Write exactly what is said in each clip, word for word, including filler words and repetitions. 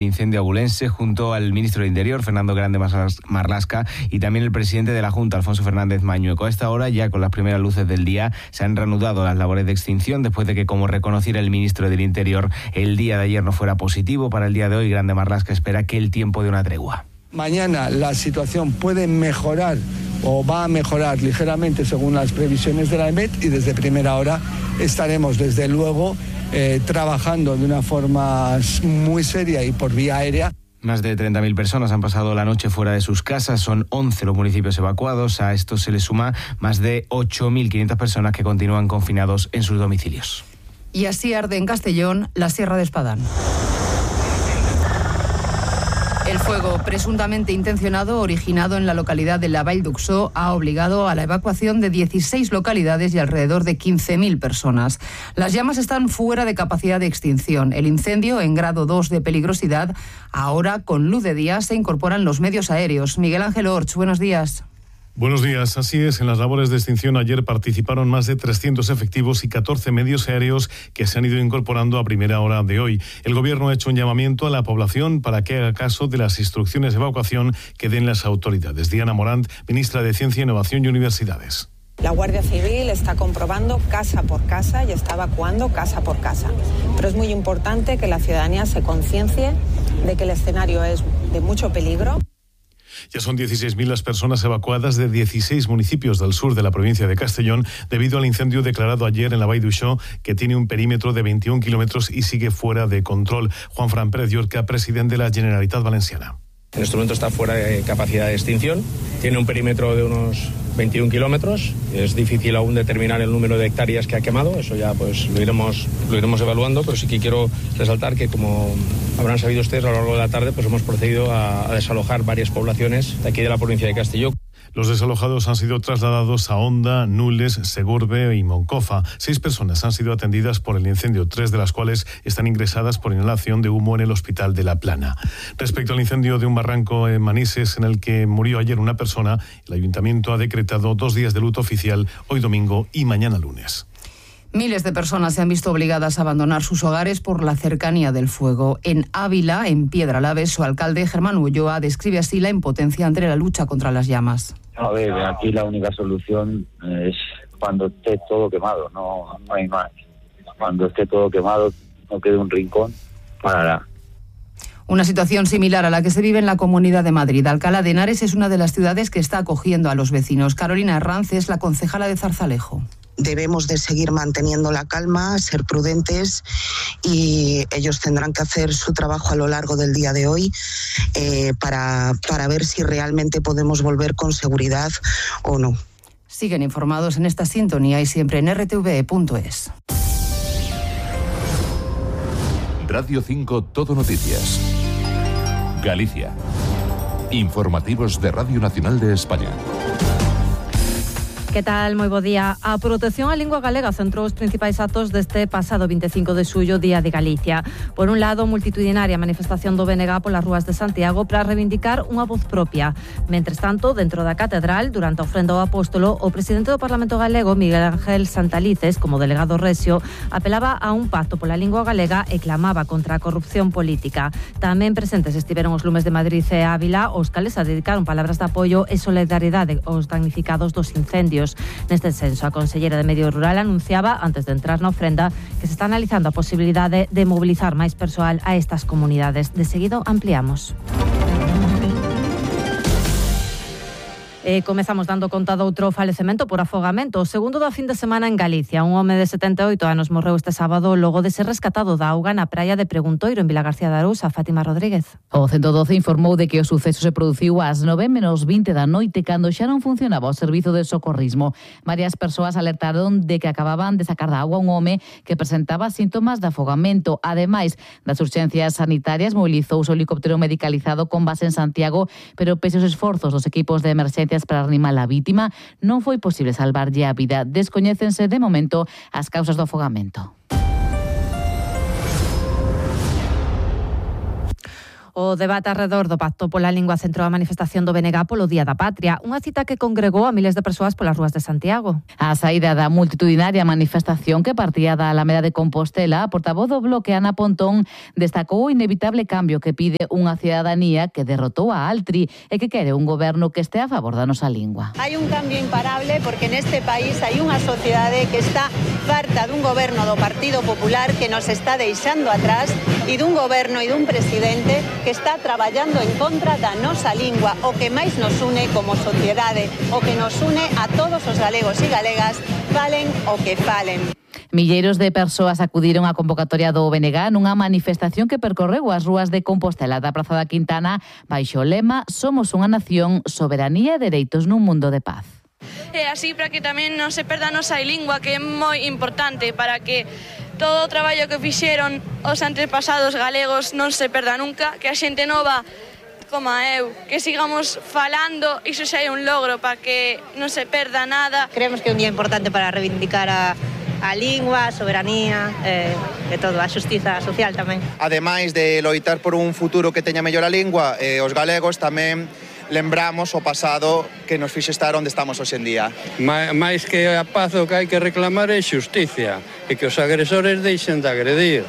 incendio abulense junto al ministro de Interior, Fernando Grande Marlasca, y también el presidente de la Junta, Alfonso Fernández Mañueco. A esta hora, ya con las primeras luces del día, se han reanudado las labores de extinción después de que, como reconociera el ministro del Interior, el día de ayer no fuera positivo. Para el día de hoy, Grande Marlasca espera que el tiempo dé una tregua. Mañana la situación puede mejorar o va a mejorar ligeramente según las previsiones de la EMET, y desde primera hora estaremos desde luego eh, trabajando de una forma muy seria y por vía aérea. Más de treinta mil personas han pasado la noche fuera de sus casas, son once los municipios evacuados. A esto se le suma más de ocho mil quinientas personas que continúan confinados en sus domicilios. Y así arde en Castellón la Sierra de Espadán. El fuego, presuntamente intencionado, originado en la localidad de la Vall d'Uixó, ha obligado a la evacuación de dieciséis localidades y alrededor de quince mil personas. Las llamas están fuera de capacidad de extinción. El incendio, en grado dos de peligrosidad, ahora con luz de día se incorporan los medios aéreos. Miguel Ángel Orch, buenos días. Buenos días. Así es, en las labores de extinción ayer participaron más de trescientos efectivos y catorce medios aéreos que se han ido incorporando a primera hora de hoy. El Gobierno ha hecho un llamamiento a la población para que haga caso de las instrucciones de evacuación que den las autoridades. Diana Morant, ministra de Ciencia, Innovación y Universidades. La Guardia Civil está comprobando casa por casa y está evacuando casa por casa. Pero es muy importante que la ciudadanía se conciencie de que el escenario es de mucho peligro. Ya son dieciséis mil las personas evacuadas de dieciséis municipios del sur de la provincia de Castellón debido al incendio declarado ayer en la Vall d'Uixó, que tiene un perímetro de veintiún kilómetros y sigue fuera de control. Juanfran Pérez Llorca, presidente de la Generalitat Valenciana. En este momento está fuera de capacidad de extinción, tiene un perímetro de unos veintiún kilómetros, es difícil aún determinar el número de hectáreas que ha quemado, eso ya pues lo iremos, lo iremos evaluando, pero sí que quiero resaltar que, como habrán sabido ustedes, a lo largo de la tarde pues hemos procedido a, a desalojar varias poblaciones de aquí de la provincia de Castelló. Los desalojados han sido trasladados a Onda, Nules, Segurbe y Moncofa. Seis personas han sido atendidas por el incendio, tres de las cuales están ingresadas por inhalación de humo en el hospital de La Plana. Respecto al incendio de un barranco en Manises, en el que murió ayer una persona, el ayuntamiento ha decretado dos días de luto oficial, hoy domingo y mañana lunes. Miles de personas se han visto obligadas a abandonar sus hogares por la cercanía del fuego. En Ávila, en Piedralaves, su alcalde, Germán Ulloa, describe así la impotencia ante la lucha contra las llamas. A ver, aquí la única solución es cuando esté todo quemado, no, no hay más. Cuando esté todo quemado, no quede un rincón, parará. Una situación similar a la que se vive en la Comunidad de Madrid. Alcalá de Henares es una de las ciudades que está acogiendo a los vecinos. Carolina Herranz es la concejala de Zarzalejo. Debemos de seguir manteniendo la calma, ser prudentes, y ellos tendrán que hacer su trabajo a lo largo del día de hoy eh, para, para ver si realmente podemos volver con seguridad o no. Siguen informados en esta sintonía y siempre en erre te ve punto es. Radio cinco Todo Noticias. Galicia. Informativos de Radio Nacional de España. Que tal? Moi bo día. A Protección á Lingua Galega centrou os principais actos deste pasado veinticinco de xullo, Día de Galicia. Por un lado, multitudinaria manifestación do B N G polas rúas de Santiago para reivindicar unha voz propia. Mentres tanto, dentro da Catedral, durante a ofrenda ao Apóstolo, o presidente do Parlamento Galego, Miguel Ángel Santalices, como delegado rexio, apelaba a un pacto pola lingua galega e clamaba contra a corrupción política. Tamén presentes estiveron os lumes de Madrid e Ávila, os cales a dedicaron palabras de apoio e solidaridade aos damnificados dos incendios. Neste senso, a consellera de Medio Rural anunciaba, antes de entrar na ofrenda, que se está analizando a posibilidade de mobilizar máis persoal a estas comunidades. De seguido, ampliamos. E comezamos dando conta doutro falecemento por afogamento. O segundo da fin de semana en Galicia. Un home de setenta e oito anos morreu este sábado logo de ser rescatado da auga na praia de Preguntoiro, en Vilagarcía de Arousa. Fátima Rodríguez. O ciento doce informou de que o suceso se produciu ás nove menos vinte da noite, cando xa non funcionaba o servizo de socorrismo. Varias persoas alertaron de que acababan de sacar da auga un home que presentaba síntomas de afogamento. Ademais das urxencias sanitarias, mobilizouse o helicóptero medicalizado con base en Santiago, pero pese aos esforzos dos equipos de emerxencia para reanimar a vítima, non foi posible salvarlle a vida. Descoñécense de momento as causas do afogamento. O debate arredor do Pacto pola Lingua centrou a manifestación do B N G polo Día da Patria, unha cita que congregou a miles de persoas polas rúas de Santiago. A saída da multitudinaria manifestación que partía da Alameda de Compostela, a portavoz do Bloque Ana Pontón destacou o inevitable cambio que pide unha cidadanía que derrotou a Altri e que quere un goberno que este a favor da nosa lingua. Hai un cambio imparable porque neste país hai unha sociedade que está farta dun goberno do Partido Popular que nos está deixando atrás e dun goberno e dun presidente que está traballando en contra da nosa lingua, o que máis nos une como sociedade, o que nos une a todos os galegos e galegas, falen o que falen. Milleiros de persoas acudiron á convocatoria do B N G nunha manifestación que percorreu as rúas de Compostela da Praza da Quintana baixo o lema Somos unha nación, soberanía e dereitos nun mundo de paz. E así para que tamén non se perda a nosa lingua, que é moi importante para que todo o traballo que fixeron os antepasados galegos non se perda nunca, que a xente nova, como eu, que sigamos falando, iso xa é un logro para que non se perda nada. Creemos que é un día importante para reivindicar a, a lingua, a soberanía, eh, e todo, a xustiza social tamén. Ademais de loitar por un futuro que teña mellor a lingua, eh, os galegos tamén lembramos o pasado que nos fixe estar onde estamos hoxe en día. Mais que a paz o que hai que reclamar é xusticia e que os agresores deixen de agredir.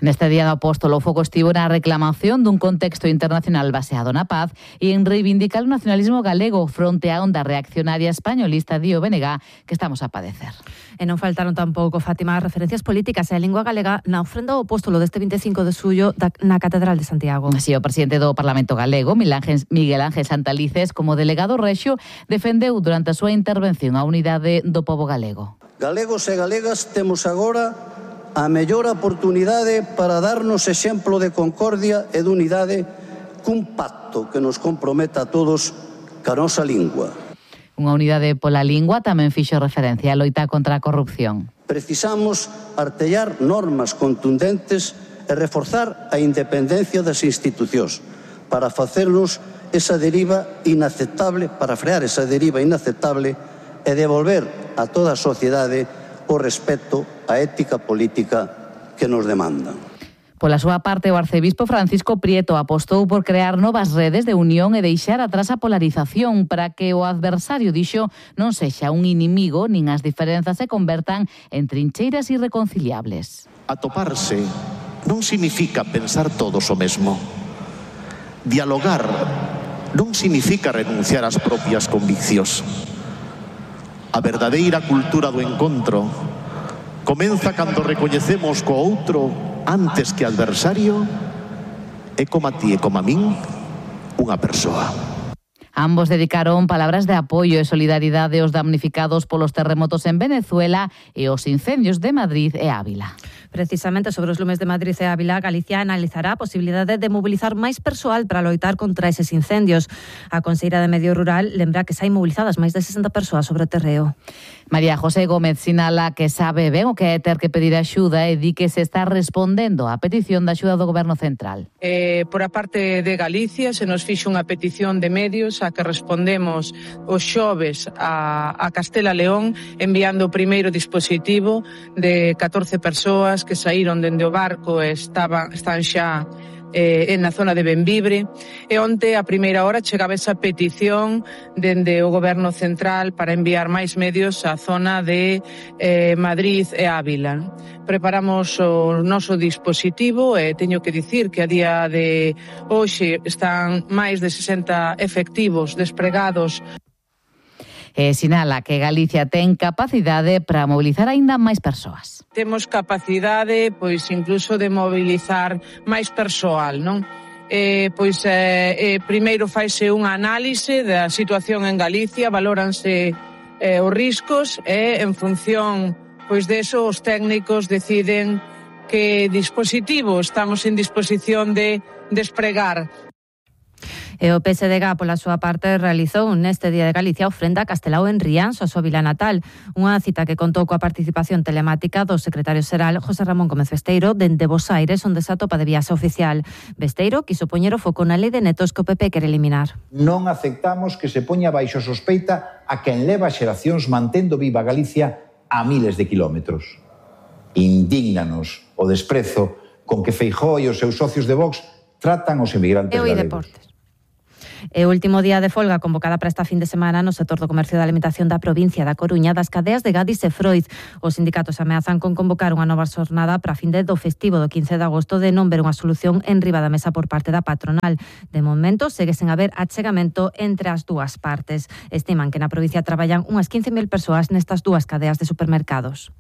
Neste día do apóstolo, o foco estivo na reclamación dun contexto internacional baseado na paz e en reivindicar o nacionalismo galego fronte á onda reaccionaria españolista di o B N G que estamos a padecer. E non faltaron tampouco, Fátima, as referencias políticas e a lingua galega na ofrenda ao apóstolo deste vinte e cinco de xullo na Catedral de Santiago. Así, o presidente do Parlamento galego, Miguel Ángel Santalices, como delegado rexio, defendeu durante a súa intervención a unidade do pobo galego. Galegos e galegas temos agora a mellor oportunidade para darnos exemplo de concordia e de unidade cun pacto que nos comprometa a todos ca nosa lingua. Unha unidade pola lingua tamén fixo referencia a loita contra a corrupción. Precisamos artellar normas contundentes e reforzar a independencia das institucións para facernos esa deriva inaceptable, para frear esa deriva inaceptable e devolver a toda a sociedade o respeto á ética política que nos demandan. Pola súa parte, o arcebispo Francisco Prieto apostou por crear novas redes de unión e deixar atrás a polarización para que o adversario, dixo, non sexa un inimigo nin as diferenzas se convertan en trincheiras irreconciliables. Atoparse non significa pensar todos o mesmo. Dialogar non significa renunciar ás propias conviccións. A verdadeira cultura do encontro comeza cando recoñecemos co outro antes que adversario e como a ti e como a min unha persoa. Ambos dedicaron palabras de apoio e solidaridade aos damnificados polos terremotos en Venezuela e os incendios de Madrid e Ávila. Precisamente sobre os lumes de Madrid e Ávila, Galicia analizará a posibilidade de mobilizar máis persoal para loitar contra eses incendios. A conselleira de Medio Rural lembra que xa hai mobilizadas máis de sesenta persoas sobre o terreo. María José Gómez sinala que sabe ben o que é ter que pedir axuda e di que se está respondendo á petición de axuda do Goberno Central. Eh, por a parte de Galicia se nos fixo unha petición de medios a que respondemos os xoves a, a Castela León enviando o primeiro dispositivo de catorce persoas que saíron dende o barco e estaban, están xa eh, na zona de Benvibre e onte a primeira hora chegaba esa petición dende o Goberno Central para enviar máis medios á zona de eh, Madrid e Ávila. Preparamos o noso dispositivo e teño que dicir que a día de hoxe están máis de sesenta efectivos despregados. E sinala que Galicia ten capacidade para mobilizar aínda máis persoas. Temos capacidade, pois, incluso de mobilizar máis persoal, non? Eh, pois, eh, eh, primeiro faise unha análise da situación en Galicia, valóranse eh, os riscos e, en función, pois, deso, os técnicos deciden que dispositivo estamos en disposición de despregar. E o P S D G, pola súa parte, realizou neste Día de Galicia ofrenda a Castelao en Rianxo, a súa vila natal. Unha cita que contou coa participación telemática do secretario xeral José Ramón Gómez Besteiro dende Bos Aires, onde se atopa de viaxe oficial. Besteiro quiso poñer o foco na lei de netos que o P P quere eliminar. Non aceptamos que se poña baixo sospeita a quen leva xeracións mantendo viva Galicia a miles de kilómetros. Indígnanos o desprezo con que Feijóo e os seus socios de Vox tratan os emigrantes Eu e galegos. deportes. E o último día de folga convocada para esta fin de semana no sector do comercio da alimentación da provincia da Coruña das cadeas de Gadis e Freud. Os sindicatos ameazan con convocar unha nova xornada para fin de do festivo do quince de agosto de non ver unha solución en riba da mesa por parte da patronal. De momento, segue sen haber achegamento entre as dúas partes. Estiman que na provincia traballan unhas quince mil persoas nestas dúas cadeas de supermercados.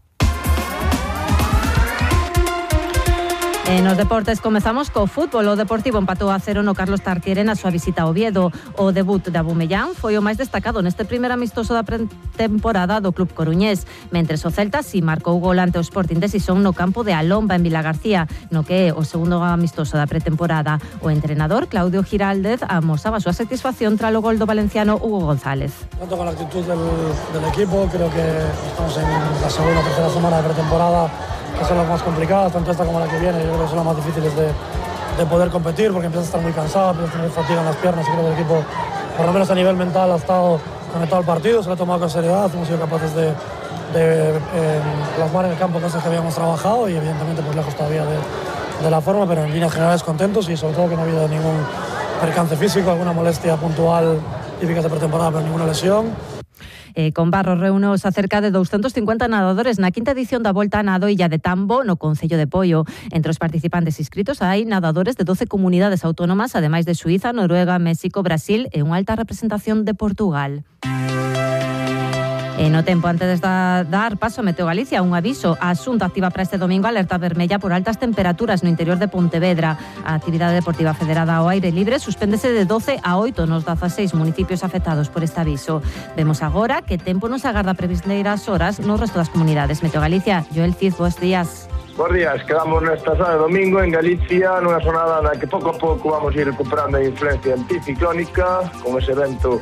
E nos deportes comezamos co fútbol. O Deportivo empatou a cero no Carlos Tartiere na súa visita a Oviedo. O debut de Abumellán foi o máis destacado neste primer amistoso da pretemporada do club coruñés, mentres o Celta si marcou gol ante o Sporting de Sison no campo de Alomba en Vilagarcía, no que é o segundo amistoso da pretemporada. O entrenador Claudio Giraldez amosaba a súa satisfacción tras o gol do valenciano Hugo González. Tanto con la actitud del, del equipo, creo que estamos en la segunda o tercera semana de pretemporada, que son las más complicadas, tanto esta como la que viene. Yo creo que son las más difíciles de, de poder competir, porque empieza a estar muy cansado, empieza a tener fatiga en las piernas, y creo que el equipo, por lo menos a nivel mental, ha estado conectado al partido, se lo ha tomado con seriedad, hemos sido capaces de, de eh, plasmar en el campo cosas que habíamos trabajado, y evidentemente pues lejos todavía de, de la forma, pero en líneas generales contentos, y sobre todo que no ha habido ningún percance físico, alguna molestia puntual típica de pretemporada, pero ninguna lesión. Eh, con Barros reúnos a cerca de doscientos cincuenta nadadores na quinta edición da Volta a Nado Illa de Tambo no Concello de Poio. Entre os participantes inscritos hai nadadores de doce comunidades autónomas, ademais de Suíza, Noruega, México, Brasil e unha alta representación de Portugal. E no tempo, antes de dar paso a Meteo Galicia, un aviso. A Xunta activa para este domingo alerta vermella por altas temperaturas no interior de Pontevedra. A actividade deportiva federada ao aire libre suspéndese de doce a oito nos dezaseis municipios afectados por este aviso. Vemos agora que tempo nos agarda previsleiras horas no resto das comunidades. Meteo Galicia, Joel Cid, bons días. Bos días, quedamos nesta zona de domingo en Galicia, nunha jornada na que pouco a pouco vamos ir recuperando a influencia anticiclónica con ese vento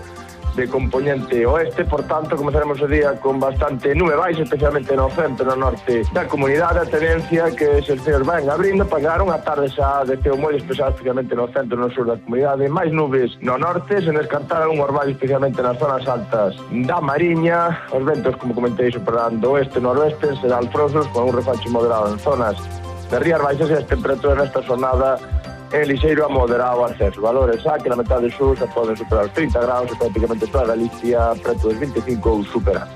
de componente oeste, por tanto comenzaremos o día con bastante nube baixa, especialmente no centro e no norte da comunidade. A tendencia que se os ceos van abrindo para llegar unha tarde xa de ceo moi despexado, especialmente no centro e no sur da comunidade, máis nubes no norte, sen descartar algún orvallo especialmente nas zonas altas da Mariña. Os ventos, como comentei, superando oeste e noroeste, serán alfrosos con un refacho moderado en zonas de rías baixas, e as temperaturas nesta jornada en lixeiro a moderado ascenso. Valores a que na metade sur se poden superar os trinta graus e prácticamente toda Galicia preto dos vinte e cinco ou superar.